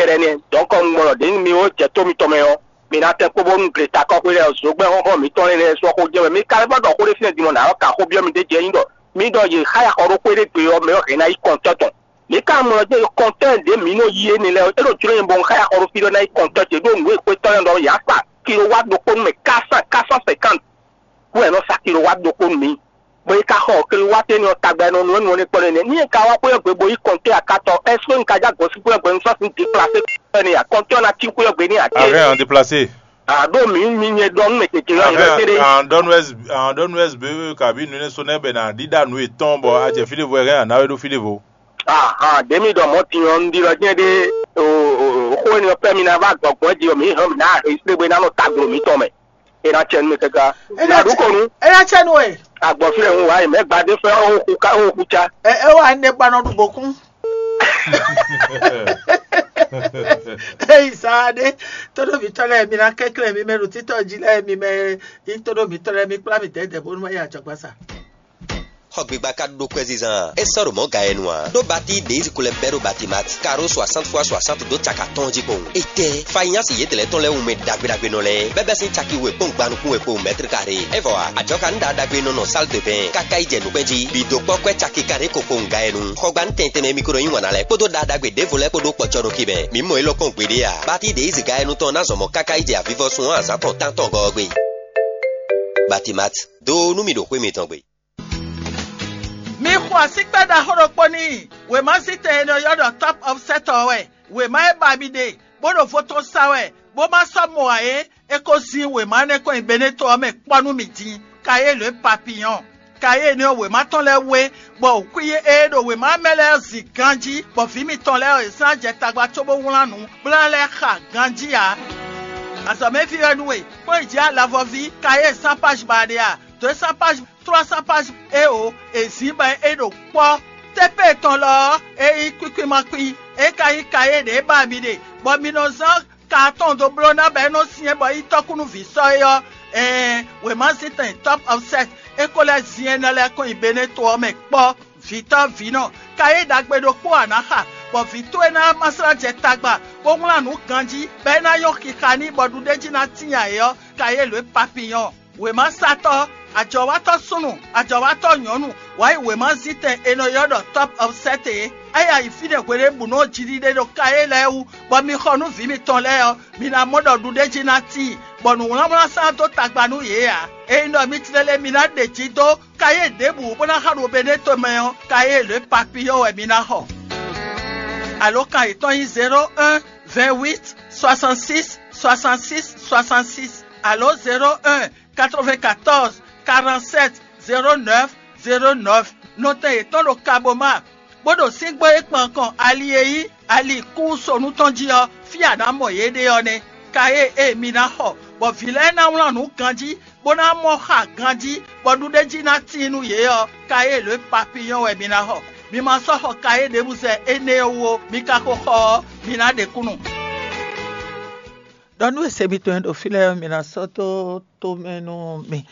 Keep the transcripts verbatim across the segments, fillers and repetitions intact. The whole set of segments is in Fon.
Ɛnɛ, dɔ̌nkɔ un gbɔn ɖɔ ɖě mi ó jɛ tó mitɔn mɛ ɔ́, mi ná tɛ́n kpó bónú gle takɔ́xwé lɛ́ɛ ɔ́, zǒgbɛ́n xɔ́xɔ́ mǐtɔn lɛ́ɛ lɛ́ɛ sɔ́ xó jɛ wɛ. Mi ka lɛ́ vɔ́ ɖɔ xó ɖé fínɛ́ din mɔ nǎ ɔ́, ka xó byɔ́ mì ɖ'é jɛ nyí ɖɔ mi ɖɔ yě xá ya xɔ ɖó xwé ɖé gbe ɔ́ mɛ ɔ́, hɛn ná yí kɔntɔ́ tɔn. Mi ka mɔ ɖɔ jɛ kɔntɔ́ ɖě mǐ nɔ yí énɛ́ lɛ́ɛ ɔ́, é ɖo jló nyɛ bɔ un xá ya xɔ ɖó fí ɖɔ ná yí kɔntɔ́ ce ɖó nǔ e xwé tɔn lɛ́ɛ ɖɔ yǎ sa kilo wá ɖokpó nú mɛ kásán kásán sɛkánti. Kú ɛ nɔ sa kilo wá ɖokpó nú mǐ. Bɔ é ka xɔ kilo wá tɛ́ nɔ tagba nɔ nú nɔ ní kpɔ́ nɛnɛ. Ní e ka wá xwé gbe bo yí kɔntɔ́ akatɔ, ɛsó un ka já gɔ̌ sí xwé gbe un sɔ́ sín déplacé kɔntɔ́ n'i a? Kɔntɔ́ ná cí xwé gbe n'i a? Arrêt en déplacé. Aɖo mǐ mi nyɛ ɖɔ nú mɛ tete lɔ yɛ tɛ́ ɖe. Andɔnu S B kabí nu ne so nɛ bɛ na ɖiɖa nu etɔn bɔ a jɛ fí ɖěvo ɛ hɛn a ná wɛ ɖó fí ɖěvo. Ahan ɖě mi ɖɔ mɔ̌ din ɔ́, un ɖi lɔ jɛ́n ɖé. Xó énɛ́ ɔ́ pɛ́ mi ná vá gbɔgbɔ́ jí ɔ́, mǐ hɛn mǐ ná hɛn sílé bó ná nɔ taglo mǐtɔn mɛ. É ná cɛ nú mi káká. Ná ɖu kɔnu. É ná cɛ nú we. Agbɔ̌ fí lɛ hun wá yi mɛ gbadé fɛ ó xú ká ó xú cá. Ɛ é wà ní gba nɔ ɖu bòkún. Eyi sa ɖé, tóɖó mǐtɔn lɛ́ɛ mi ná kɛnklɛ́n mi mɛ ɖo títɔ jí lɛ́ɛ mi mɛ yí tóɖó mǐtɔn lɛ́ɛ mi kplá mi dɛ̌dɛ̌ bónú ma yi ajɔgbasa. Xɔgbigba ka ɖó kwɛzizan, é sɔ́ ɖo mɔ̌ ga yɛ nu ǎ. Ɖó batí ɖě yi zinkú lɛ́ɛ bɛ́ ɖó Batimati, karo soixante fois soixante dó caka tɔn jí kpowun. Étɛ́, fanyási yědɛɛ lɛ́ɛ tɔn lɛ́ɛ wunmɛ ɖagbe ɖagbe nɔ lɛ́ɛ, bɛ́ bɛ́ sín caki we kpɔ́n gbanukún we kpowun mɛ́tri karé. É vɔ ǎ, ajɔ̌ ka nú ɖa ɖagbe e nɔ nɔ sál de bɛn káká yi jɛ nǔkpɛ́n jí, bǐ dó kpɔ́ kwɛ́ caki kanɖé ko kpowun ga yɛ nu. Xɔgba nú tɛn tɛnmɛ mi ko nɔ yí wǎn ná lɛ́ɛ kpódó ɖa ɖagbe ɖěvo lɛ́ɛ kpó ɖó kpɔjɔnukí mɛ. Mǐ mɔ élɔ́ kpɔ́n gbeɖé ǎ. Batí ɖě yi ziga yɛ nu tɔn ná zɔn mɔ káká yi jɛ avivɔsun ɔ́ azǎn tɔn tántɔn gɔ́ ɔ́ gbe. Batimati, dó nú mi ɖo xwé mitɔn gbe. Mi xo asíkpɛ́ ɖaxó ɖokpó n'i. Wěma zítɛn e nɔ ylɔ́ ɖɔ Top of Set ɔ́ wɛ. Wěma e ba mi ɖe, bó ɖo vo tɔn sa wɛ, bó ma sɔ́ mɔ ǎ é, é ko zin wěma énɛ́ kɔn nyi Beneto ɔ́ mɛ kpɔ́ nú mì din. Kayélu e papiyɔn. Kayélu énɛ́ ɔ́, wěma tɔn lɛ́ɛ wú é, bɔ wǔkwín e ɖo wěma mɛ lɛ́ɛ ɔ́ zin ganjí, bɔ vǐ mitɔn lɛ́ɛ ɔ́, yě zán jɛ tagba cóbó wlán nǔ, bó ná lɛ́ xa ganjí ǎ. Azɔ̌mɛví wɛ nú we, kpɔ́n yi jǐ alavɔví, kayé sán páj ba ɖe a? Dǒ e sán páj trois cents pages é o, è zǐn bɔ é ɖo kpɔ́. Tépée tɔn lɔ ɔ́, é nyí kwíkwín ma kwín, é ka nyí kayé ɖě ba mi ɖe, bɔ mi nɔ zán ka atɔn dó bló ná bɔ é nɔ syɛ́n bɔ é nyí tɔ́kúnúví sɔ́ é ɔ́, ɛɛn, wěma zítɛn Top of Set é ko lɛ́ zin énɛ́ lɛ́ɛ kɔn nyi Beneto ɔ́ mɛ kpɔ́. Vǐtɔ́ vǐnɔ, kayé ɖagbe ɖokpó a nǎ xa, bɔ vǐ towe ná ma slá jɛ tagba, bó wlán nǔ ganjí, bɔ é ná nyɔ́ xixa n'i bɔ ɖuɖéjí ná tíin ayǐ ɔ́, kayé lǒ e papiyɔn. Wěmasatɔ́, ajɔ̌watɔ́ súnnu, ajɔ̌watɔ́ nyɔ̌nu, wǎ yi wěma zítɛn è nɔ ylɔ́ ɖɔ Top of Set é. É yi ayǐ fínɛ́ hweɖěbǔnu ɔ́ jiɖiɖe ɖo kayé lɛ́ɛ wú, bɔ mi xɔ nú vǐ mitɔn lɛ́ɛ ɔ́, mi ná mɔ ɖɔ ɖuɖéjí ná tíin, bɔ nǔwlánwlán sán dó tagba nú yě ǎ. Ényí ɖɔ mi tlélé mi ná ɖe jǐ dó kayé ɖěbǔ bó ná xa ɖo Beneto mɛ ɔ́, kayé lě papiyɔ́ wɛ mi ná xɔ. Alǒkan yětɔn nyí zéro un, vingt huit, soixante six, soixante six, soixante six, alǒ zéro un, quatre vingt quatorze, quarante sept, zéro neuf, zéro neuf. Nɔtɛn yětɔn ɖo Kaboma, bó ɖo síngbó e kpan kɔn ali e nyí ali kúsonu tɔn jí ɔ́, fí a nǎ mɔ yě ɖe ɔ́ nɛ́. Kayé e mi ná xɔ, bɔ vǐ lɛ́ɛ ná wlán nǔ ganjí, bó ná mɔ xa ganjí, bɔ ɖuɖéjí ná tíin nú yě ɔ́, kayé lě papiyɔ́n wɛ mi ná xɔ. Mi ma sɔ́ xɔ kayé ɖěbǔ zɛ énɛ́ ɔ́ wú ó, mi ka ko xɔ ɔ́, mi ná ɖe kúnnu. Ɖɔ nú e se mitɔn e ɖo fí lɛ́ɛ ɔ́, mi ná sɔ́ dó tomɛ nú mì.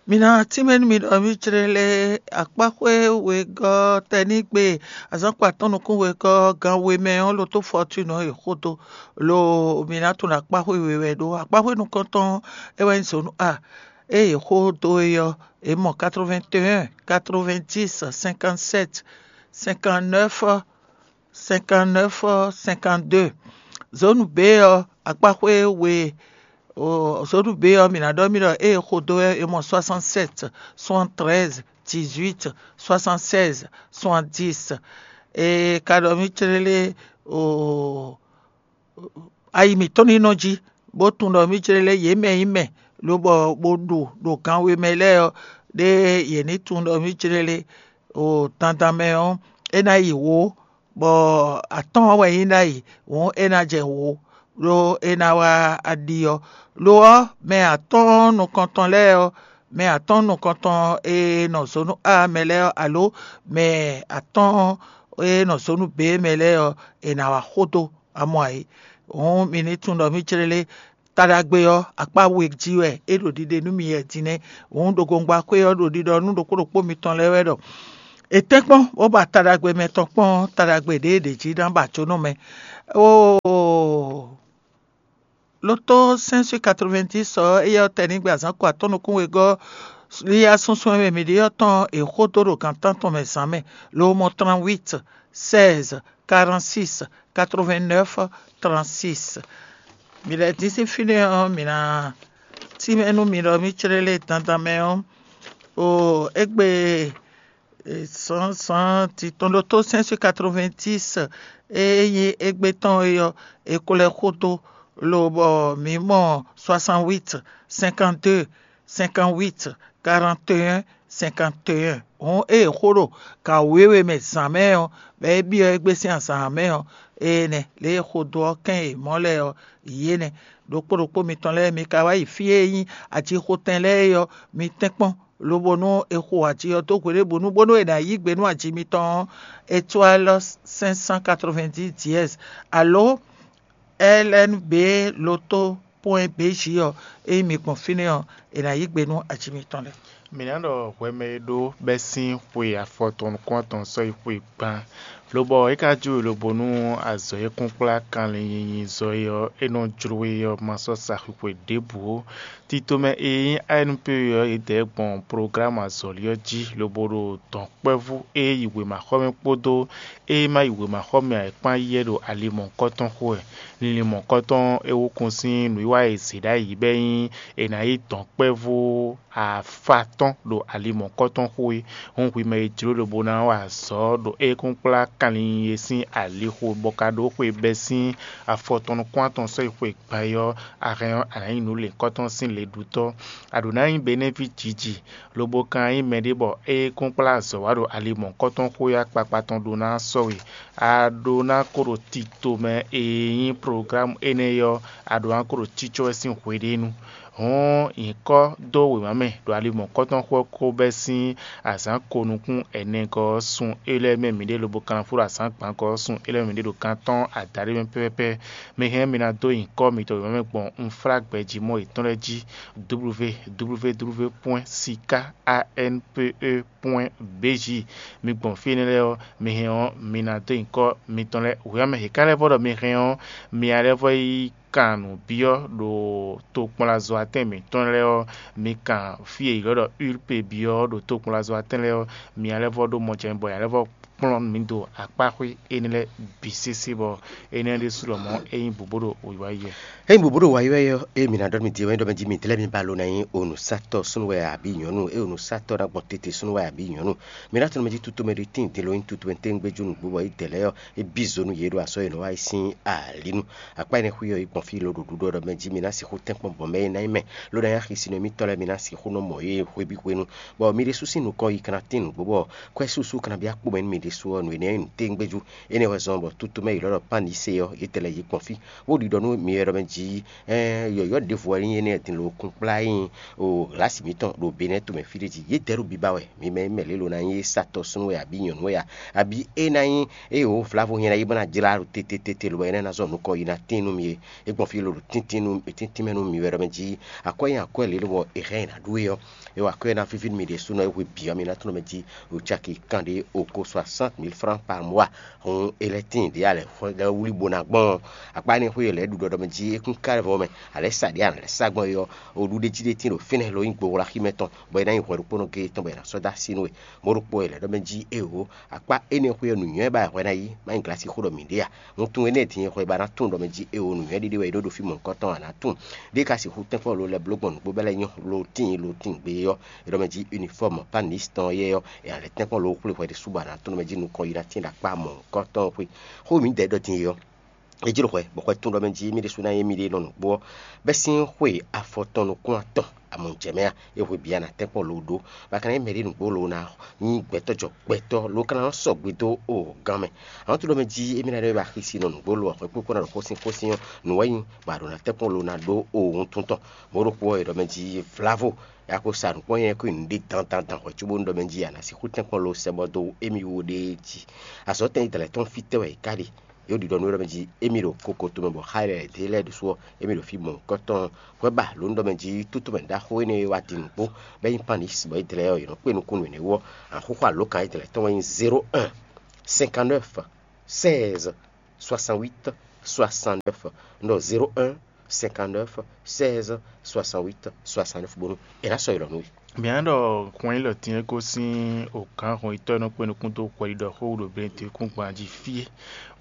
Mi ná tínmɛ nú mi ɖɔ mì jlé lé akpáxwé wegɔ́ tɛnígbe azǎn kpatɔ́ nukún wegɔ́ gan we mɛ ɔ́, lo tó fɔtúnɔ e xódó, lo mi ná tunwun akpáxwé we wɛ ɖó. Akpáxwé nukɔntɔn é wɛ nyí zǒnu A. Ée è xó dó é ɔ́, è mɔ quatre-vingt-un, quatre-vingt-dix, cinquante-sept, cinquante-neuf, cinquante-neuf, cinquante-deux. Zǒnu B ɔ́, akpáxwé we. Zǒnu B ɔ́, mǐ ná ɖɔ mì ɖɔ ée è xo dó ɔ́, è mɔ soixante-sept, soixante-treize, dix-huit, soixante-seize, soixante-dix. È ka ɖɔ mì clélé o ayi mǐtɔn ní nɔ jí, bó tunwun ɖɔ mì clélé yě mɛ nyí mɛ, lobɔ bó ɖu ɖo gan we mɛ lɛ́ɛ ɔ́, ɖé yě ní tunwun ɖɔ mì clélé o dandan mɛ ɔ́, é ná yi wǒ, bɔ atɔ́ɔ́n wɛ nyí ɖ'ayǐ, hǔn é ná jɛ wǒ, ɖó é ná wá aɖi ɔ́. Lo ɔ́, mɛ atɔ́ɔ́n nukɔntɔn lɛ́ɛ ɔ́, mɛ atɔ́ɔ́n nukɔntɔn e nɔ zǒnu A mɛ lɛ́ɛ ɔ́, alo mɛ atɔ́ɔ́n e nɔ zǒnu B mɛ lɛ́ɛ ɔ́, è nǎ wá xódó amɔ ayǐ. Hǔn mi ní tunwun ɖɔ mì clélé taɖagbe ɔ́, akpá we jí wɛ é ɖo ɖiɖe nú mi wɛ din nɛ́. Hǔn ɖo gongba xwé ɔ́ ɖo ɖiɖɔ nú ɖokpó ɖokpó mitɔn lɛ́ɛ wɛ ɖɔ è tɛ́nkpɔ́n bó ba taɖagbe mɛtɔn kpɔ́n taɖagbe ɖě è ɖě jí ná ba jó nɔ mɛ. Oo, Tó cinq sur quatre-vingt-dix ɔ́, éyɛ́ ɔ́ tɛnígbe azǎn ko atɔ́ nukún wegɔ́ líyá súnsún e mɛ mǐ ɖe ɔ́ tɔn è xó dó ɖo gan tántɔn mɛ zǎn mɛ, lo mɔ trente-huit, seize, quarante-six, quatre-vingt-neuf, trente-six. Mǐ lɛ́ dín sín fínɛ́ ɔ́, mǐ ná tínmɛ nú mi ɖɔ mí clé lé dandan mɛ ɔ́, o égbé zǎnzǎn titɔn ɖo tó cinq sur quatre-vingt-dix e nyí égbé tɔn é ɔ́, è ko lɛ́ xo dó, lobɔ mǐ mɔ soixante-huit, cinquante-deux, cinquante-huit, quarante et un, cinquante et un. Hǔn ée è xo ɖo gan wěwe mɛ zǎn mɛ ɔ́, bɔ é byɔ́ égbé sín azǎn mɛ ɔ́, énɛ́ lě e è xo dó ɔ́ kɛn e mɔ̌ lɛ́ɛ ɔ́, yě nɛ́. Ɖokpó ɖokpó mitɔn lɛ́ɛ, mi ka wá yi fí e nyí ajixotɛn lɛ́ɛ é ɔ́, mi tɛ́nkpɔ́n, lobo nú è xo aji ɔ́ dó hweɖěbǔnu bónú è nǎ yí gbe nú aji mitɔn ɔ́, étoile cinq cent quatre-vingt-dix dièse, alo L N B loto point B J ɔ́, ényí mi gbɔn fínɛ́ ɔ́, è nǎ yí gbe nú aji mitɔn lɛ́ɛ. Mǐ ná ɖɔ hwɛ mɛ e ɖó bɛ́ sín xwe afɔtɔn nukún-atɔn sɔ́ yi xwe gban, lobɔ é ka jó e lobo nú azɔ̌ e kúnkplá kanlin nyinyi zɔ é ɔ́, é nɔ jló we ɔ́ ma sɔ́ sa xwixwe ɖěbǔ ó. Tito mɛ e nyí A N P E ɔ́, yědɛɛ gbɔn programu azɔ̌li ɔ́ jí, lobo ɖo dɔ̌nkpɛvú e yi wěmaxɔmɛ kpódó e ma yi wěmaxɔmɛ ǎ é kpán yí wɛ ɖo ali mɔ̌hunkɔtɔn xo wɛ. Linlin mɔ̌hunkɔtɔn e wúkun sín nǔwiwa e è zě ɖ'ayǐ bɔ é nyí è nǎ yí dɔ̌nkpɛvú afatɔ́n ɖo ali mɔ̌hunkɔtɔn xo é. Hǔn hwi mɛ e jló lobo ná wa azɔ̌ ɖo ékúnkplá kanlin e sín alixo bɔ ka ɖó xwe bɛ́ sín afɔtɔn nukún-atɔn sɔ́ yi xwe gban é ɔ́, a hɛn ɔ́, a nǎ nyí nǔlěnkɔ́tɔn sín leɖútɔ́. A ɖǒ ná nyí Benɛ́ví jǐji, lobo ka nyí mɛɖé bɔ ékúnkplá azɔ̌ wa ɖo ali mɔ̌hunkɔtɔn xo é akpakpa tɔn ɖó ná sɔ́ we. A ɖó ná ko ɖo tito mɛ e nyí programu énɛ́ ɔ́, a ɖǒ ná ko ɖo cícɔ́ wɛ sín hweɖénu. Hǔn nyǐkɔ dó wěma mɛ ɖo ali mɔ̌hunkɔtɔn xo ɔ́ ko bɛ́ sín azǎn ko nukún ɛnɛgɔ́ ɔ́ sun é lɛ́ɛ mɛ mǐɖée lobo kanlafó ɖo azǎn gbǎngɔ́ ɔ́ sun é lɛ́ɛ mɛ mǐɖée ɖo kan tɔn adaɖé mɛ pɛ́pɛ́pɛ́. Mi hɛn mi ná dó nyǐkɔ mitɔn wěma mɛ gbɔn unflágbɛjí mɔ yětɔn lɛ́ɛ jí, www point sika anpe point bj. Mi gbɔn fí énɛ́ lɛ́ɛ ɔ́, mi hɛn ɔ́, mi ná dó nyǐkɔ mitɔn lɛ́ɛ wěma mɛ. È ka lɛ́ vɔ ɖɔ mi hɛn ɔ́, mi ná lɛ́ vɔ yi kan nǔ byɔ́ ɖo tokpɔnlazɔ́watɛ́n mǐtɔn lɛ́ɛ ɔ́, mi kan fí e è ylɔ́ ɖɔ Ulpe byɔ́ ɖo tokpɔnlazɔ́watɛ́n lɛ́ɛ ɔ́, mi ná lɛ́ vɔ ɖó mɔjɛmɛ bɔ è nǎ lɛ́ vɔ kplɔ́n mi dó akpáxwé énɛ́ lɛ́ɛ bǐ sésé bɔ énɛ́ ɖésú lɔmɔ̌ é nyí bǔbú ɖo wǐwá yi wɛ. Ényí bǔbú ɖo wǎyi wɛ ɔ́, ée mǐ ná ɖɔ mì din ɔ́, é ɖɔ mɛ jí mi dlɛ́ mi ba lo ná nyí onǔsatɔ́ súnnu wɛ abǐ nyɔ̌nu, ée onǔsatɔ́ ná gbɔn tete súnnu wɛ abǐ nyɔ̌nu. Mi ná tunwun mɛ jí tutomɛ ɖé tíin din lo nyí tutomɛ téŋgbéjú nǔgbó bɔ é dɛ lɛ́ɛ ɔ́, é bí zo nú yě ɖo azɔ̌ e nɔ wá yi sín alǐ nu. Akpá énɛ́ xwí ɔ́, yi gbɔn fí lo ɖo ɖuɖu ɔ́ ɖɔ mɛ jí mi ná sixú tɛ́nkpɔ́n bɔ mɛ e ná nyí mɛ, ló ná nyí axi sin nú émítɔn lɛ́ɛ mi ná sixú nɔ mɔ yě hweví hwenu, bɔ mi ɖésú sín nukɔn yi ka ná tín nǔgbó bɔ kwɛ́ súsú ka ná byɔ́ akpo mɛ nú mi ɖésú ɔ́, nǔ énɛ́ nyí nǔtéŋgbéjú. Énɛ́ wɛ zɔ́n bɔ tutomɛ e è ylɔ́ ɖɔ Pánise ɔ́, yě tɛlɛ yi gbɔn fí, bó ɖiɖɔ nú mi wɛ ɖɔ mɛ jí, yɔ̌yɔ́ ɖěvo wɛ nyí énɛ́ din lo kúnkplá nyi o glǎsi mǐtɔn ɖo Benɛ́ tomɛ fí ɖé jí. Yědɛɛ ɖo biba wɛ, mi mɛ mɛ lě lo ná nyí é satɔ́ súnnu wɛ abǐ nyɔ̌nu wɛ a, abǐ é ná nyí é wǒ vlavo nyɛ ná yi bó ná jlá ɖo tete tete lobɔ é ná ná zɔ nukɔn yi ná tín nú mi é. É gbɔn fí lo ɖo tíntín nú tíntín mɛ nú mi wɛ ɖɔ mɛ jí akwɛ́ nyi akwɛ́ lě lobɔ è hɛn è nǎ ɖu é ɔ́, é wa akwɛ́ ná víví nú mi ɖésúnɔ é hwe bǐ ɔ́, mi ná tunɔ mɛ jí o caki kanɖé oko soixante mille francs par mois. Hǔn è lɛ́ tíin ɖě a lɛ̌ xwlɛ́ wlí bó ná gbɔn ɔ́, akpá énɛ́ xwé è lɛ̌ ɖu ɖɔ ɖɔ mɛ jí é kún ká lɛ́ vɔ mɛ, a lɛ̌ sa ɖě a nǎ lɛ́ sa gbɔn é ɔ́, o ɖuɖéjí ɖé tíin ɖo fínɛ́ lo nyí gbowla xí mɛ tɔn, bɔ é ná nyí hwɛ ɖokpónɔ géé tɔn bɔ è nǎ sɔ́ dó así nú we. Mɔ̌ ɖokpó è lɛ̌ ɖɔ mɛ jí éeǒ, akpá énɛ́ xwé ɔ́ nǔnywɛ́ ba wɛ hwɛ ná yí, má nyí glasi xó ɖɔ mǐ ɖe a. Wuntun énɛ́ din e hwɛ ba ná tunwun ɖɔ mɛ jí éeǒ, nǔnywɛ́ ɖé ɖé wɛ é ɖó ɖo fí mɔ̌hunkɔtɔn a nǎ tunwun. Ɖé ka sixú tɛ́nkpɔ́n lo lɛ́ bló gbɔn nǔgbó bɛ́ lɛ́ɛ nyɔ́ lo tíin lo tíin gbe ɔ́, è ɖɔ mɛ jí unifɔ́ɔ́mu Pánisi tɔn yɛ ɔ́, è nǎ lɛ́ tɛ́nkpɔ́n lo xwlé hwɛ ɖé súbɔ a nǎ tunwun ɖɔ mɛ jí nukɔn yi ná tíin ɖo akpá mɔ̌hunkɔtɔn xwé. Xó mǐdɛɛ ɖɔ din e ɔ́, é jló hwɛ, bɔ hwɛ tún ɖɔ mɛ jí émí ɖésú ná nyí émí ɖe nɔ nǔgbó ɔ́, bɛ́ sín xwe afɔtɔn nukún atɔn amɔ̌ jɛ mɛ a, é hwe bǐ a nǎ tɛ́nkpɔ́n lo ɖó, bɔ a ka ná nyí mɛɖé nǔgbó lo ná nyí gbɛtɔ́ jɔ gbɛtɔ́ lo ka ná nɔ sɔgbe dó o gán mɛ. Àwọn tó ɖɔ mɛ jí émí ná ɖɔ é ba xísi nɔ nǔgbó lo ɔ́, hwɛ kpókpó ná ɖo xósin xósin ɔ́, nǔ wɛ nyí bɔ a ɖǒ ná tɛ́nkpɔ́n lo ná ɖó o wuntun tɔn. Mɔ̌ ɖokpó ɔ́, è ɖɔ mɛ jí vlavo, ya ko sa nǔkpɔ́n nyɛ ko nyi nǔɖé dandandan hwɛ cóbónú ɖɔ mɛ jí a nǎ sixú tɛ́nkpɔ́n lo sɛ bɔ dó émí wú ɖéé jí. Azɔ̌ tɛn yi dlɛ̌ tɔn fítɛ́ wɛ è ká ɖe? Yě ɖiɖɔ nú é ɖɔ mɛ jí émí ɖo koko tomɛ bɔ xá e lɛ́ɛ ɖě lɛ́ɛ ɖésú ɔ́, émí ɖo fí mɔ̌hunkɔtɔn. Hwɛ ba lǒ ɖɔ mɛ jí tútúmɛ ɖaxó énɛ́ e wá din nǔgbó, bɔ é nyí Pánisi bɔ é dlɛ́ ɔ́, è nɔ kpé nukúnnú énɛ́ wú ɔ́, axóxó alǒkan e dlɛ̌ tɔn wɛ nyí zéro un, cinquante-neuf, seize, soixante-huit, soixante-neuf. Un ɖɔ zéro un, cinquante-neuf seize soixante-huit soixante-neuf bónú è nǎ sɔ́ yi lɔ nú we. Mǐ ná ɖɔ hwɛn élɔ́ din e gosín ògǎn hɔnyitɔ́ e nɔ kpé nukún dó hwɛɖiɖɔ xó wú ɖo Benetɛ́kúngban jí fí é,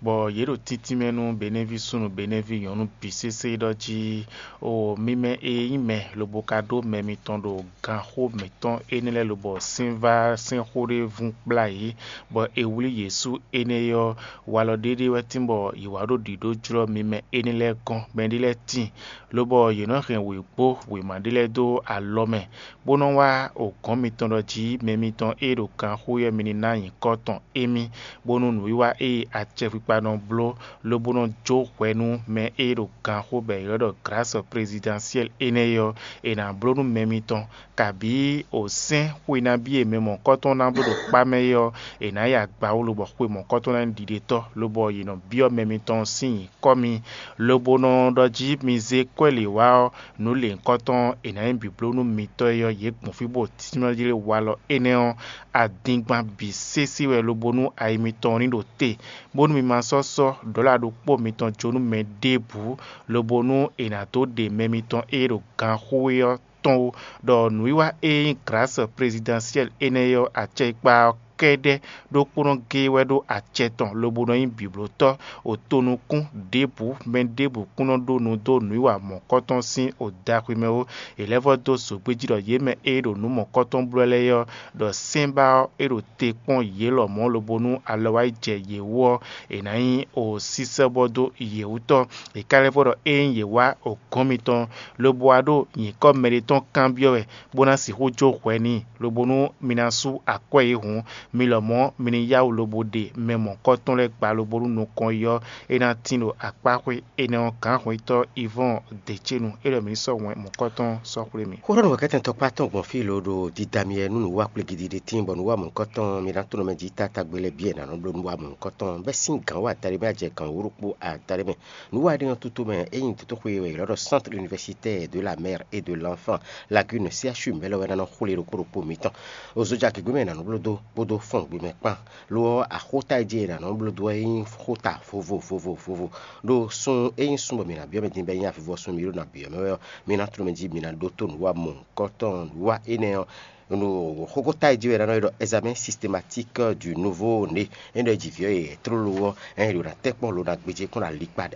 bɔ yě ɖo tíntín mɛ nú Benɛ́ví súnnu Benɛ́ví nyɔ̌nu bǐ sésé ɖɔ jí: O mi mɛ e nyí mɛ, lobo ka ɖó mɛ mitɔn ɖo ganxó mǐtɔn énɛ́ lɛ́ɛ lobɔ sɛ́n vá sɛ́nxɔ ɖé vún kplá yě, bɔ è wlí yě sú énɛ́ ɔ́, walɔ ɖéɖé wɛ tín bɔ yě wá ɖo ɖǐɖó jlɔ́ mi mɛ énɛ́ lɛ́ɛ gɔ́n. Mɛɖé lɛ́ɛ tíin, lobɔ yě nɔ́ hɛn wěgbó wěma ɖé lɛ́ɛ dó alɔ mɛ, bó nɔ́ wá o gɔ̌n mitɔn ɖɔ jí mɛ mitɔn e ɖo ganxó ɔ́ mi ní ná nyǐkɔ tɔn émí, bónú nǔwiwa e acɛkpikpa nɔ bló, lobo nɔ jó hwɛ nú mɛ e ɖo ganxó bɔ è ylɔ́ ɖɔ glǎsɔ plezidɛnsiɛ́li énɛ́ é ɔ́, è nǎ bló nú mɛ mitɔn, kabǐ o sɛ́n xwe nabí e mɛ mɔ̌kɔtɔn ná bló ɖo kpá mɛ é ɔ́, è nǎ yi agba wú lobɔ xwe mɔ̌kɔtɔn ná nyí ɖiɖetɔ́, lobɔ yě nɔ byɔ́ mɛ mitɔn sín nyǐkɔ mi, lobo nɔ ɖɔ jí mi zé kwɛ́ lě wá ɔ́, nǔ lěhunkɔtɔn e nǎ nyí bǐblónú mitɔn é ɔ́, yě gbɔn fí bó tínmɛ jí walɔ énɛ́ ɔ́, adingban bǐ sésé wɛ lobo nú ayi mitɔn ní ɖo te, bónú mi ma sɔ́ sɔ́ ɖɔ̌la ɖokpó mitɔn jó nú mɛ ɖěbǔ, lobo nú è nǎ dó ɖe mɛ mitɔn e ɖo ganxó é ɔ́ tɔn ó, ɖɔ nǔwiwa e nyí glǎsɔ plezidɛnsiɛ́li énɛ́ ɔ́ acɛkpa ɔ́ kɛ́ɖɛ́ ɖokpónɔ géé wɛ ɖó acɛ tɔn lobo nɔ nyí bǐblótɔ́, otonukún ɖěbǔ mɛ ɖěbǔ kún nɔ ɖó nu dó nǔwiwa mɔ̌kɔtɔn sín odaxwi mɛ ó. È lɛ́ vɔ́ dó zogbéjí ɖɔ yě mɛ e ɖo nǔ mɔ̌kɔtɔn bló lɛ́ɛ ɔ́, ɖɔ sɛ́nbá ɔ́ é ɖo te kpɔ́n yě lɔmɔ̌ lobo nú alɔ wá yi jɛ yě wú ɔ́, è nǎ nyí o sísɛ́bɔ dó yě wú tɔ́. È ka lɛ́ vɔ́ ɖɔ ényí yě wá o gɔ́n mitɔn, lobo wá ɖo nyǐkɔ mɛɖé tɔn kanbyɔ́ wɛ, bó ná sixú jó hwɛ n'i, lobo nú mi ná sú akwɛ́ yě hǔn, mi lɔmɔ̌ mi ní yá wǔ lobo ɖe mɛ mɔ̌kɔtɔn lɛ́ɛ gba lobo nú nukɔn yi ɔ́, é ná tín ɖo akpáxwé énɛ́ ɔ́ gǎnhwɛntɔ́ Ivɔ́ɔn Decénu é ɖɔ mǐ ní sɔ́ wɛn mɔ̌kɔtɔn sɔ́ xwlé mi. Xó ɖɔ nǔwɛkɛ́tɛn tɔkpá tɔn gbɔn fí lo ɖo dídá mi wɛ nú nǔwá kplé gidigidi tíin bɔ nǔwá mɔ̌hunkɔtɔn mi ná tlɔ́n mɛ jí táta gbe lɛ́ɛ bǐ e nǎ nɔ bló nǔwá mɔ̌hunkɔtɔn bɛ́ sín gǎn wá adaɖé mɛ ajɛ gǎn wú ɖokpó adaɖé mɛ. Nǔwá ɖé ɔ́ tútú mɛ é nyí dotóxwé e è ylɔ́ ɖɔ Centre Universitaire de la Mère et de l'Enfant, Lagune, C H U mɛ lɛ́ɛ wɛ ná nɔ xwlé ɖokpó ɖokpó mitɔn. Ozojagěgbé mɛ è nǎ nɔ bló dó kpódó fɔ́ngbé mɛ kpán. Lo ɔ́, axóta e jí è nǎ nɔ bló dó ɔ́ é nyí xóta vovo vovo vovo. Ɖó sun é nyí sun bɔ mǐ ná byɔ́ mɛ din bɔ é nyí avivɔsun mǐ ɖo nǎ byɔ́ mɛ wɛ ɔ́, mi ná tló mɛ jí mi ná ɖótó nǔwamɔ̌hunkɔtɔn nǔwa énɛ́ ɔ́. Ɖo xóxóta e jí wɛ è nǎ nɔ ylɔ́ ɖɔ examen systématique du nouveau né. É nɔ ɖɔ jí vǐ ɔ́ e tlóló ɔ́, ɛ ɖo ná tɛ́ kpɔ́n lo ná gbéjé kpɔ́n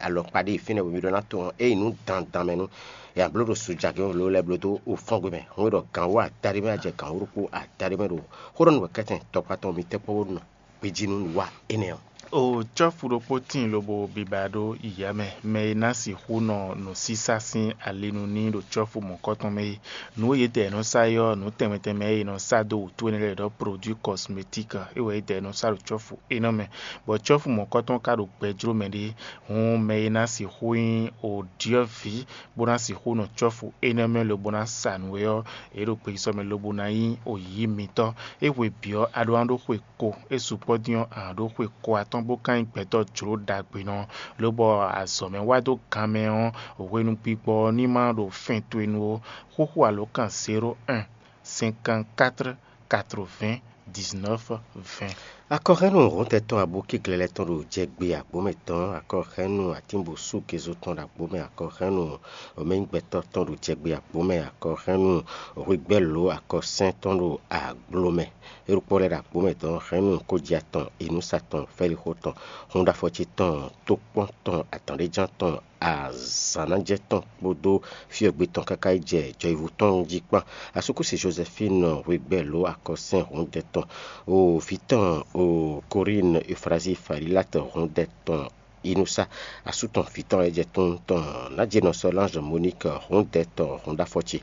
alɔkpa ɖé fínɛ́ bɔ mi ɖó ná tunwun ényí nǔ dandan mɛ nú ya bló ɖo sujagɛ́n lo lɛ́ɛ bló dó o fɔ́n gbe mɛ. Hɔn é ɖɔ gǎn wú adaɖé mɛ ajɛ gǎn wú ɖokpó adaɖé mɛ ɖo xó ɖɔ nú wɛ kɛ́tɛn tɔkpatɔn mi tɛ́ kpɔ́n bó nɔ gbéjí nú nǔwa énɛ́ ɔ́. O cɔ́fu ɖokpó tíin lobo biba ɖó yiyǎ mɛ, mɛ e ná sixú nɔ nǔsísá sín ali nu n'i ɖo cɔ́fu mɔ̌kɔtɔn mɛ é. Nǔ e yědɛɛ nɔ sa é ɔ́, nǔ tɛnmɛ tɛnmɛ e è nɔ sa dó wǔtu énɛ́ lɛ́ɛ ɖɔ produit cosmétique é wɛ yědɛɛ nɔ sa ɖo cɔ́fu énɛ́ mɛ, bɔ cɔ́fu mɔ̌kɔtɔn ka ɖo gbɛ jló mɛ ɖé. Hǔn mɛ e ná sixú nyí o ɖyɔ̌vǐ bó ná sixú nɔ cɔ́fu énɛ́ mɛ lobo ná sa nǔ é ɔ́, é ɖo gbeyísɔ mɛ lobo ná nyí o yǐ mitɔ́. É hwe bǐ ɔ́, a ɖó ná ɖó xwe ko, é sukpɔ́ dín ɔ́, a nǎ ɖó xwe ko atɔ́ɔ́n bó ka nyí gbɛtɔ́ jlǒ ɖagbenɔ, lobɔ azɔ̌ mɛ wá dó gan mɛ ɔ́, hwenu gbigbɔ ɔ́ ní ma ɖo fɛn towe nu ó. Xúxú alǒkan zéro un, cinquante-quatre, quatre-vingts, dix-neuf, vingt. Akɔhɛ́nnu hɔntɛn tɔn abokíglɛ́lɛ́ tɔn ɖo jɛgbe agbǒ mɛ tɔn, akɔhɛ́nnu atínbosúgezo tɔn ɖo agbǒ mɛ, akɔhɛ́nnu omɛnyígbɛtɔ́ tɔn ɖo jɛgbe agbǒ mɛ, akɔhɛ́nnu hwegbɛ́lǒ akɔsɛ́n tɔn ɖo aglo mɛ. É ɖokpó lɛ́ɛ ɖo agbǒ mɛ tɔn, hɛ̌nnu kójá tɔn, inúsa tɔn, fɛ́lixó tɔn, húnɖáfɔ́cí tɔn, tókpɔ́n tɔn, adǎnɖéján tɔn, azǎnájɛ tɔn kpódó fyɔ́gbé tɔn káká yi jɛ jɔyivu tɔn jí kpán. Asúkúsi Joséphine hwegbɛ́lǒ akɔsɛ́n hǔndɛ tɔn, o vǐ tɔn, o Corinne Euphrasie Falilat hǔndɛ tɔn, inúsa, asú tɔn vǐ tɔn lɛ́ɛ jɛ tún tɔn, Nǎjínɔ Solange Monique hǔndɛ tɔn hǔnɖáfɔ́ ce,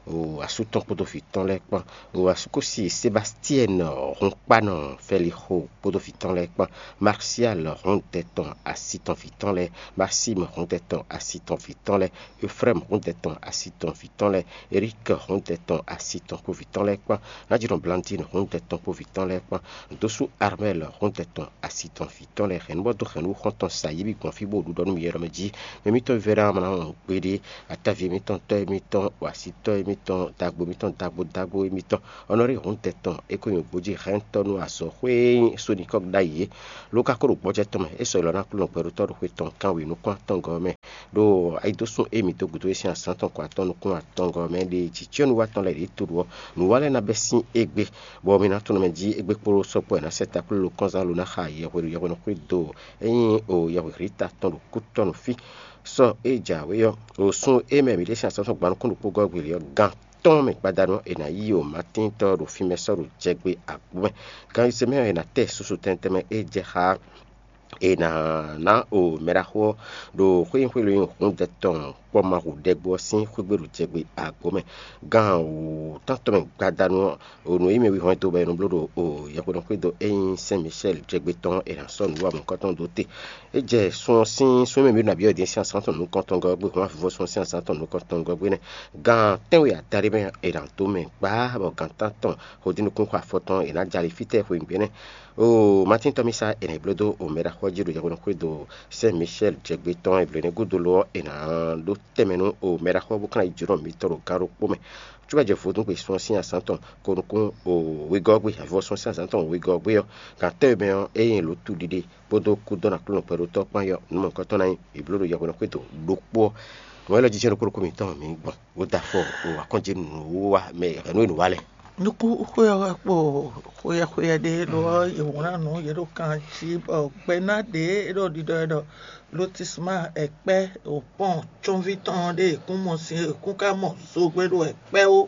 o asú tɔn kpódó vǐ tɔn lɛ́ɛ kpán, o asúkúsi Sébastiɛ́n hǔnkpánɔ Fɛlixo kpódó vǐ tɔn lɛ́ɛ kpán, Marsial hǔndɛ tɔn asi tɔn vǐ tɔn lɛ́ɛ, Maxime hǔndɛ tɔn asi tɔn vǐ tɔn lɛ́ɛ, Efrɛ́m hǔndɛ tɔn asi tɔn vǐ tɔn lɛ́ɛ, Erík hǔndɛ tɔn asi tɔn kpó vǐ tɔn lɛ́ɛ kpán, Nǎjínɔ Blandine hǔndɛ tɔn kpó vǐ tɔn lɛ́ɛ kpán, Dosú Armɛ́l hǔndɛ tɔn asi tɔn vǐ tɔn lɛ́ɛ hɛn nú bɔ dó hɛn nú xɔ́ntɔn sa yě bǐ gbɔn fí bó ɖu ɖɔ nú mì ylɔ́ mɛ jí. Mɛ mitɔn vívɛ́ná ɔ́ ma ná wɔn gbeɖé, ataví émítɔn, tɔ́ émítɔn, axitɔ́ émítɔn, dagbo émítɔn, dagbo dagbo émítɔn, Ɔnɔrí hǔndɛ tɔn, é ko nyɔ̌ gbójí hɛntɔ́ nú azɔ̌ xwé e nyí Sonikɔ́ ɖ'ayǐ é. Ló ka ko ɖo gbɔjɛ́ tɔn mɛ, é sɔ́ ylɔ́ ná Aklúnɔ gbɛɖótɔ́ ɖo xwe tɔn kanwekun nukún atɔngɔ́ ɔ́ mɛ. Ɖo ayidósun e mǐ dó gǔdo é sín azǎn tɔn kɔ atɔn nukún atɔngɔ́ mɛ ɖe jǐ cyɔ́núwatɔn lɛ́ɛ ɖě to ɖo ɔ́, nǔwa lɛ́ɛ ná bɛ́ sín égbé, bɔ mi ná tunwun mɛ jí égbé kpódó sɔ́ kpó wɛ ná sɛ́ taklólo kɔnzán lo ná xa yɛhweɖo yɛhweɖo xwé do é nyí o yɛhwehlíta tɔn ɖo kútɔ́ nú fí. Sɔ é jǎwe ɔ́, ɖo sun e mɛ mǐ ɖe sín azǎn tɔn gba nukún ɖokpó gɔ́ gbělé ɔ́, gan tɔn mɛ gbadanu ɔ́, è nǎ yí o Matíntɔ́ ɖo fínmɛ sɔ́ ɖo jɛgbe agbǔ mɛ. Gan e se mɛ ɔ́, è nǎ tɛ susu tɛntɛn mɛ e jɛ xá ɔ́, è nǎ ná o mɛɖaxó ɔ́ ɖo xwé nyí xwé lóyún hǔndɛ tɔn kpɔ́ ma hu ɖɛgbó ɔ́ sín xwé gbe ɖo jɛgbe agbǒ mɛ. Gan wǔ tántɔn mɛ gbadanu ɔ́, o nǔ e nyí mɛ wihɔn e dó bɔ è nɔ bló ɖo o yɛhweɖɔxwé dó é nyí Sɛn Micɛ́li jɛgbe tɔn ɔ́, è nǎ sɔ́ nǔ wa mɔ̌hunkɔtɔn dó te. É jɛ sun ɔ́ sín sun e mɛ mǐ ɖo nǎ byɔ́ din sín azǎn tɔn nukɔntɔngɔ́ ɔ́ gbe hɔn avivɔ́ sun ɔ́ sín azǎn tɔn nukɔntɔngɔ́ gbe nɛ́. Gan tɛ́nwe adáɖé mɛ è nǎ dó mɛ gbá bɔ gan tántɔn xodínukún xɔ afɔ tɔn è nǎ jɛ ali fítɛ́ xweyǐgbe nɛ́. Oo, Matín tɔn mì sá è nǎ yi bló dó omɛɖaxó ɔ́ jí ɖo yɛhweɖɔxwé do Sɛn Micɛ́li jɛgbe tɔn e blǒ nɛ́ gúdo lo ɔ́, è nǎ ɖó tɛnmɛ nú omɛɖaxó ɔ́ bó ka ná yi jǒnɔ mitɔn ɖo gan ɖokpó mɛ. Cóbɔ jɛ vodúngbe sun ɔ́ sín azǎn tɔn ko nukún wegɔ́ ɔ́ gbe, avivɔ́ sun ɔ́ sín azǎn tɔn wegɔ́ ɔ́ gbe ɔ́, gan tɛ́nwe mɛ ɔ́, ényí è lǒ tu ɖiɖe kpódó kúdɔ́ nú Aklúnɔ kpɛɖótɔ́ kpán ɔ́, nǔ mɔ̌hunkɔtɔn ná nyí è blǒ ɖo yɛhweɖɔxwé do ɖokpó ɔ́. Wɛ̌n lɔ jijɛ ɖokpó ɖokpó mǐtɔn mǐ gbɔn, bó da afɔ o akɔ́njenu nǔ wa mɛ hɛ̌nnu e nǔ wa lɛ́ɛ. Nukúnxwé ɔ́ wɛ kpo xweyɛxweyɛ ɖé ɖó ɔ́, yě wlán nǔ yě ɖo kan jí bɔ gbɛná ɖě é ɖo ɖiɖɔ wɛ ɖɔ lotisma ɛkpɛ́ o pɔ́n cɔ́nví tɔn ɖé è kún mɔ sin è kún ka mɔ zogbɛ́ ɖo ɛkpɛ́ ó.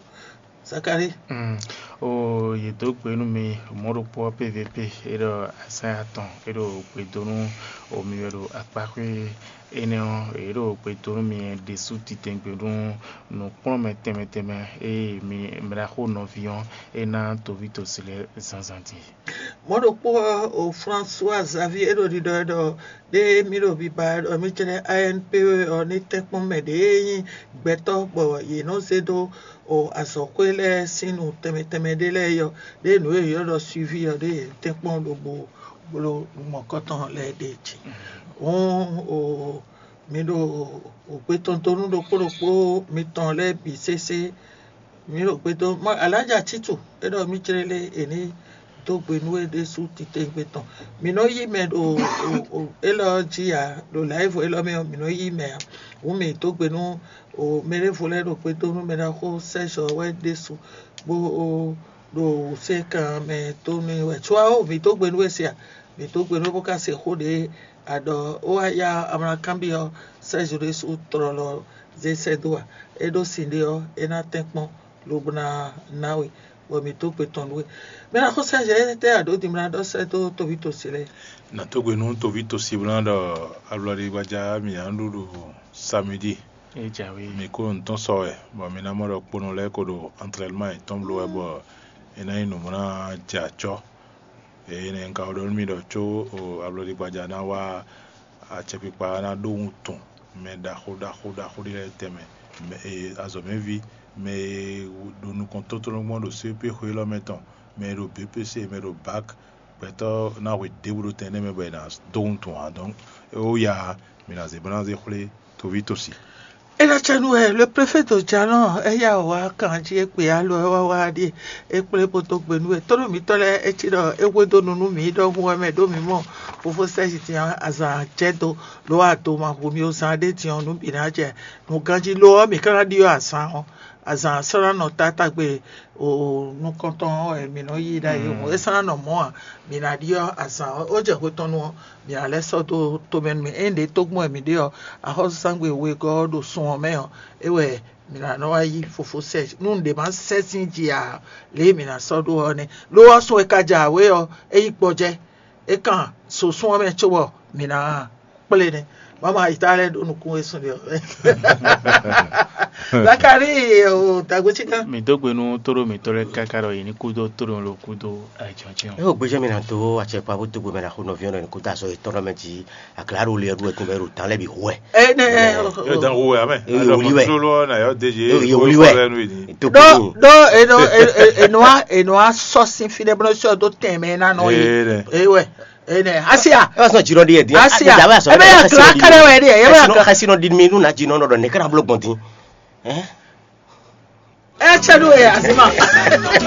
Zakalíi. Mm. O yě dó gbe nú mi mɔ̌ ɖokpó ɔ́ P V P é ɖɔ azǎn atɔn é ɖo gbe dó nú o mi wɛ ɖo akpáxwé énɛ́ ɔ́, é ɖo gbe dó nú mi ɖésú titɛngbé nú nǔkplɔ́nmɛ tɛnmɛ tɛnmɛ e mi mɛɖaxó nɔví ɔ́ é ná toví tosi lɛ́ɛ zǎnzǎn din. Mɔ̌ ɖokpó ɔ́, o François Xavier é ɖo ɖiɖɔ wɛ ɖɔ ɖé mì ɖo biba wɛ ɖɔ mì jlɛ́ A N P ɔ́ ní tɛ́nkpɔ́n mɛ ɖě e nyí gbɛtɔ́ bɔ yě nɔ zé dó o azɔ̌xwé lɛ́ɛ sín nǔ tɛnmɛ tɛnmɛ ɖé lɛ́ɛ é ɔ́, ɖé nǔ e è ylɔ́ ɖɔ suivi ɔ́ ɖé yě tɛ́nkpɔ́n lobo bló nǔ mɔ̌kɔtɔn lɛ́ɛ ɖe jí. Hǔn o mi ɖo o gbe tɔn dó nú ɖokpó ɖokpó mitɔn lɛ́ɛ bǐ sésé. Mǐ ɖo gbe dó mɔ Alǎjá Cítu é ɖɔ mì jlé lé è ní dó gbe nú we ɖésú titewungbe tɔn. Mǐ nɔ yí mɛ ɖo élɔ́ jí ǎ, ɖo lǎyívu élɔ́ mɛ ɔ́, mǐ nɔ yí mɛ ǎ. Hǔn mǐ dó gbe nú mɛɖěvo lɛ́ɛ ɖo gbe dó nú mɛɖaxó Sɛ́zɔ wɛ ɖésú, bó ɖo wǔsyɛ́nkan mɛ dó nú wɛ. Có ɔ́, mǐ dó gbe nú we se a? Mǐ dó gbe nú we bó ka se xó ɖě a ɖɔ ó wá yá amlakánbyɔ́ Sɛ́zɔ ɖésú tlɔlɔ zé sɛ́ dó a? É ɖó sin ɖé ɔ́, é ná tɛ́nkpɔ́n lobo ná ná we, bɔ mǐ dó gbe tɔn nú we. Mɛ ná xó sɛ́ zɛ étɛ́ a ɖǒ din bó ná ɖɔ sɛ́ dó toví tosi lɛ́ɛ? Nǎ dó gbe nú toví tosi bó ná ɖɔ alɔɖigbaja mǐ ná ɖu ɖo samedi. É jǎwe. Mǐ kó nǔ tɔn sɔ wɛ, bɔ mǐ ná mɔ ɖɔ kponɔ lɛ́ɛ ko ɖo entraînement yětɔn bló wɛ, bɔ é ná nyí nǔ bó ná jɛ acɔ́. Eye nɛ́ un ka ɖɔ nú mi ɖɔ có alɔɖigbaja ná wá acɛkpikpa ná ɖó wuntun mɛ ɖaxó ɖaxó ɖaxó ɖé lɛ́ɛ tɛnmɛ, mɛ e azɔ̌mɛví, mɛ e ɖo nukɔn tótlɔ́n gbɔn ɖo C P xwe élɔ́ mɛ tɔn, mɛ e ɖo B P C, mɛ e ɖo bak, gbɛtɔ́ ná hwe ɖěbǔ ɖo tɛn énɛ́ mɛ bɔ è nǎ dó wuntun ǎ. Donc é wú ya, mǐ ná zé bó ná zé xwlé toví tosi. É ná cɛ nú wɛ le préfet de Jalɔn é yá wǎ kan jí é kpe alɔ é wá wá ɖíe é kplé bó dó gbe nú wɛ tónú mǐtɔn lɛ́ɛ é cí ɖɔ é hwedó nu nú mǐ ɖɔhun wɛ mɛ ɖó mǐ mɔ fofó sɛ́ zi din azǎn jɛ dó ló wá do ma hu mì ó zán ɖé din ɔ́ nú bǐ ná jɛ nǔ ganjí lo ɔ́ mǐ ka ná ɖyɔ́ azǎn ɔ́ azǎn sɔ́ ná nɔ tátágbe o nukɔntɔn ɔ́ wɛ mǐ nɔ yí ɖ'ayǐ hǔn é sɔ́ ná nɔ mɔ̌ ǎ. Mǐ ná ɖyɔ́ azǎn ɔ́ ó jɛ hwe tɔn nu ɔ́ mǐ ná lɛ́ sɔ́ dó tomɛ nú mì ényí ɖě tógbɔn wɛ mǐ ɖe ɔ́ axɔ́súzángbe wegɔ́ ɔ́ ɖo sun ɔ́ mɛ ɔ́ é wɛ mǐ ná nɔ wá yí fofó sɛ́ nú nǔɖé má sɛ́ sín jǐ ǎ. Lě e mǐ ná sɔ́ ɖó ɔ́ nɛ́ lo ɔ́ sun e ka jɛ awě ɔ́ é yí gbɔjɛ́ é kan so sun ɔ́ mɛ cóbɔ mǐ ná kplé nɛ́. Mama yi ta lɛ́ ɖo nukún we sun ɖe ɔ́. Zakari o dagbe cí gán. Mi dó gbe nú tóɖó mǐtɔn lɛ́ɛ káká ɖɔ yě ní kúdó tóɖó lo kúdó ayǐjɔ́jɔ́. É o gbéjɛ mi ná dó acɛkpa bó dó gbe mɛ ná xó nɔví ɔ́ ní kó dó azɔ yětɔn lɔ mɛ jí aklá ɖo le ɔ́ ɖu wɛ tún bɛ ɖo tán lɛ́ bǐ hu wɛ. Ene Yɔ dan hu wɛ amɛ. Yɔ wuli wɛ. Yɔ wuli wɛ. Dó dó eno eno eno a eno a sɔ sin fi ɖe bó sɔ dó tɛn mɛ ná nɔ yi. Ewɛ. Ene asia. Ẹ wá sọ jìnnà di yẹ di. Asia. Ẹ bẹ yà kila kẹrẹ wẹ di yẹ. Ẹ bẹ yà kila. Kasi nọ di mi nu na jìnnà nọ dọ ne kana bolo gbọn din. Ẹ cɛ do yɛ azima.